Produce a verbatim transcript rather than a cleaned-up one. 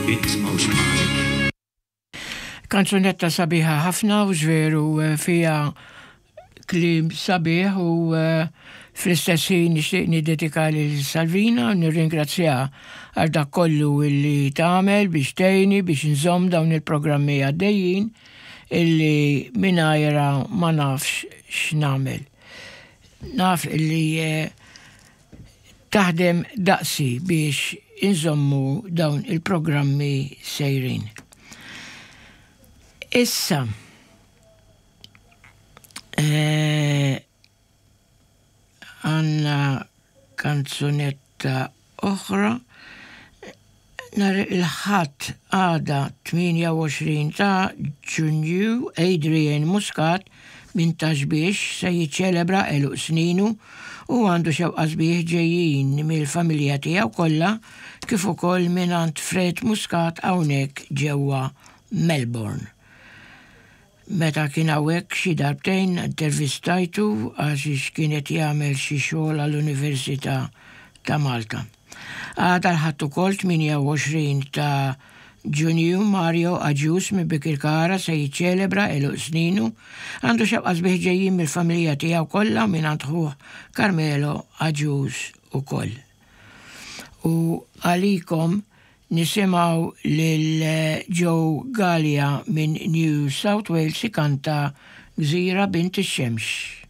Int m'hawnx bħalek. Kanzunetta sabiħa ħafna u veru eh, fiha kliem sabiħ u eh, fl-istess ħin nixtieq niddedika lil Salvina u nirringrazzjaha għal dak kollu illi tagħmel biex tgħinni biex nżomm dawn il-programmi għaddejjin illi mingħajrha ma nafx x'nagħmel. Naf illi eh, taħdem daqsi biex inżommu dawn il-programmi sejrin. Issa, eh, għandna kanzunetta oħra nhar il-Ħadd għada tmienja u għoxrin ta' Ġunju, Adrian Muscat minn Ta' Xbiex se jiċċelebra għeluq sninu u għandu xewqa sbieħ ġejjin mill-familja tiegħu kollha kif ukoll minn Fred Muscat hawnhekk ġewwa Melbourne. Meta kien hawnhekk xi darbtejn intervistajtu għax kienet jagħmel xi xogħol għall-Università ta' Malta. Għada l-Ħadd ukoll tmienja u għoxrin ta' Ġunju, Mario Agius minn Bikirkara se jiċċelebra għeluq sninu, għandu xewqa sbieħ ġejjin mill-familja tiegħu kollha minn ħuh Carmelo Agius ukoll. U għalikom nisimgħu lil Joe Gallia minn New South Wales ikanta Gżira Bint ix-Xemx.